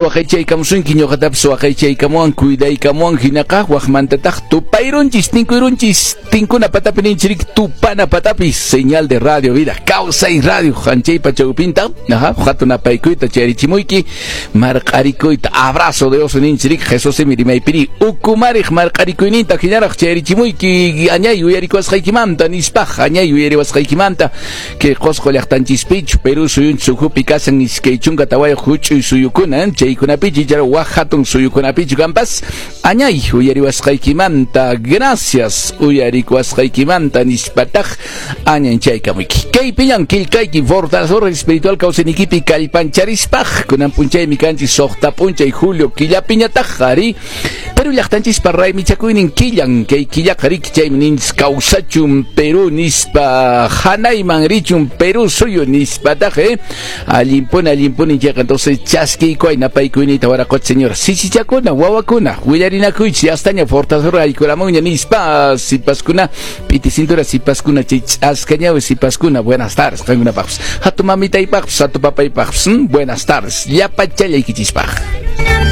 Waqaychaykamusunki, ñuqatapas waqaychaykamuwan, cuidaykamuwan, hinaqa waqmantataq tupayrunchis, tinkuyrunchis, tinkuna patapi ninchik, tupana patapi, señal de Radio Vida, Kawsay Radio, hanchaypa chawpinta, aha, hatun apaykuyta chayarichimuyki, marq'arikuyta, abrazo de oso ninchik, Jesús rimaypiri, ukumariq marq'arikuyninta hinaraq chayarichimuyki, añay uyarikuwasqaykimanta, nispaq, añay uyariwasqaykimanta, kay Qosqo llaqtanchispichu, Perú suyunchis ukhupi kasan 24 huch'uy suyukuna, chaykunapichu ichara wak hatun suyukunapichu kanpas, añay uyariwasqaykimanta, gracias uyarikuwasqaykimanta nispataq añanchaykamuyki. Kaypiñan killkayki fortalecedor espiritual kawsaynikipi kallpancharispaq, kunan p'unchaymi kanchis 6 p'unchay julio killapiñataq, ari Perú llaqtanchispa raymichakuynin killan, kay killaqa riki chaymi ninchis kawsachun Perú nispa, hanayman richun Perú suyu nispataq, allinpuni, allinpuni chayqa, entonces chaskiykuay napaykuyniyta waraqocha señora, sisichakuna, wawakuna, willarinakuychis, yastaña fortalecedor aykuramunña nispa, sipaskuna, p'iti cintura sipaskuna, chay ch'askañawi sipaskuna, buenas tardes qankunapaqpas, hatu mamitaypaqpas, hatu papaypaqpas, buenas tardes, llapachallaykichispaq.